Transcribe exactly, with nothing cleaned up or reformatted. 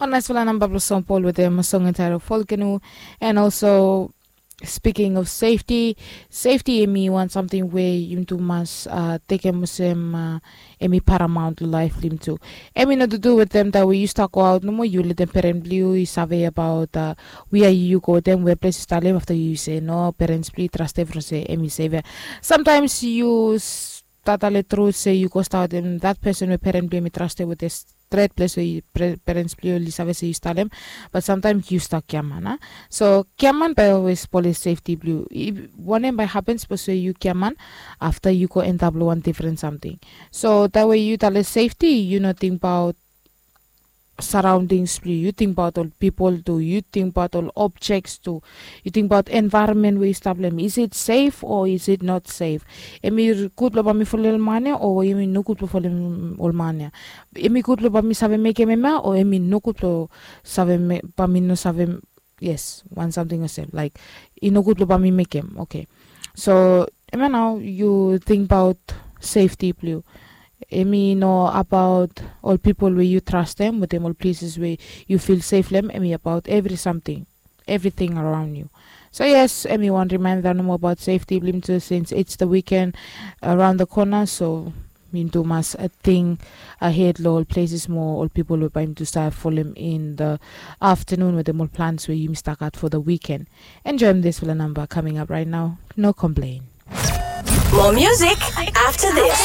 Ol naisfala namba blong Son Pol wetem song entael Volcano. And also, speaking of safety, safety em i wan samting we yumi tu mas tekem olsem em i paramount long laef blong yumi tu. Em i no dudu wetem taem we yu stap go aot nomo, yu letem peren blong yu i save abaot wia yu go wetem, weples yu stap long em. Afta yu se no, perens blong yu i trastem from se em i sef ya. Samtaems yu stap talem tru se yu go stap wetem dat pesen we peren blong em i trastem wetem stret ples we perens blong yu oli save se yu stap long em. Bat samtaem yu stap giaman a. So giaman bae olwes spolem sefti blong yu. Wanem bae hapen sapos we yu giaman afta yu go endap long wan difren samting? So dat we yu talem sefti, yu no tingbaot saraondings blong yu, yu tingbaot ol pipol tu, yu tingbaot ol objeks tu, yu tingbaot envaeronmen we yu stap long em. Is it sef o is it not sef? Em i gud blong bae mi folem ol man ya o em i nogud blong folem ol man ya? Em i gud blong bae mi save mekem hemia o em i nogud blong save bae mi no save? Yes, wan samting olsem laik i nogud blong bae mi mekem. Oke. So hemia nao yu tingbaot sefti blong yu. Em i no abaot ol pipol we yu trastem wetem ol pleses we yu fil sef long em. Em i abaot evri samting, evriting araon yu. So yes, em i wan rimaenda nomo abaot sefti blong yumi tu sins it's the weekend around the corner. So yumi tu mas ting ahed long ol pleses mo ol pipol we bae yumi tu save folem in the aftanun wetem ol plans we yumi stap gat for the weekend. Enjoem disfala namba kaming ap raet nao. No komplen. More music after this.